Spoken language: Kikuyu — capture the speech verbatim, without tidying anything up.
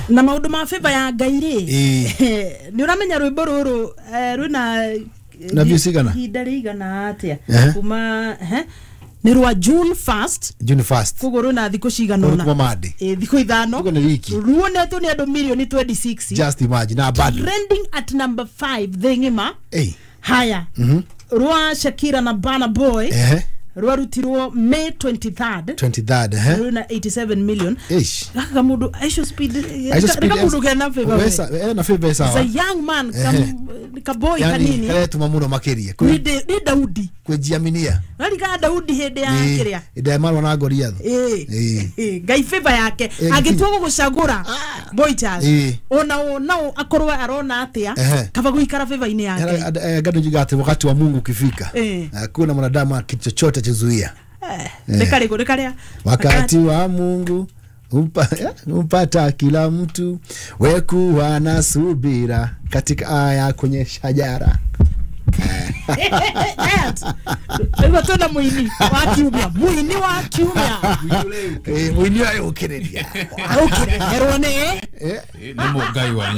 Na maundu ma favor ya Ngai rĩ, Ĩĩ. nĩ ũramenya rwĩmbo rũrũ eh, rwĩna Na views cigana? Ihinda rĩigana atĩa? Ehe. Kuma ehe, nĩ rwa June first. June first. Koguo rwĩna thikũ cigana Rũrĩ ũna. kuma Monday. Ĩ, thikũ ithano. Ũguo nĩ wiki. Ruonetwo nĩ andũ mirioni mĩrongo ĩrĩ na ithathatũ. Just imagine na bado. Trending at number five thĩ ng'ima. Ey. Haya, rwa Shakira na Burna Boy Ehe. rwarutirwo May twenty-third. twenty-third, ehe. Rwĩna eighty-seven million. Ish. Gaka kamundu Aisho Speed. Aisho Speed. Reka mundu kena favor we. Wesa, eh, na favor It's a sawa. young man, Ehe. kam, kaboy Yani kanini. karetuma muno makiria. Ni Da- ni Daudi. Kwijiaminia. Rarika Daudi hĩndĩ ya kĩrĩa. Ĩndĩ marwa na Goliath. Ĩĩ. Ĩĩ. Ĩĩ, Ngai favor yake. Ĩĩ. Angĩtua gũgũcagũra, boy child, Ĩĩ. ona o nao akorwo arona atĩa, Ehe. kaba gũikara favor-inĩ ya Ngai. Gado juga ati wakati wa Mungu ukifika, Eh. hakuna mwanadamu kitu chochote chazuia. Eh, nĩ karĩkũ? Nĩ karĩa? Wakati wa Mungu umpa, eh, umpata kila mtu, wekuwa na subira katika aya kwenye shajara. Rĩu twĩna mũini wa kiumia, mũini wa kiumia. Eh, mũini ũyũ ũkĩrĩria. Ũkĩreherwo nĩ Eh, Nĩ Ngai wa.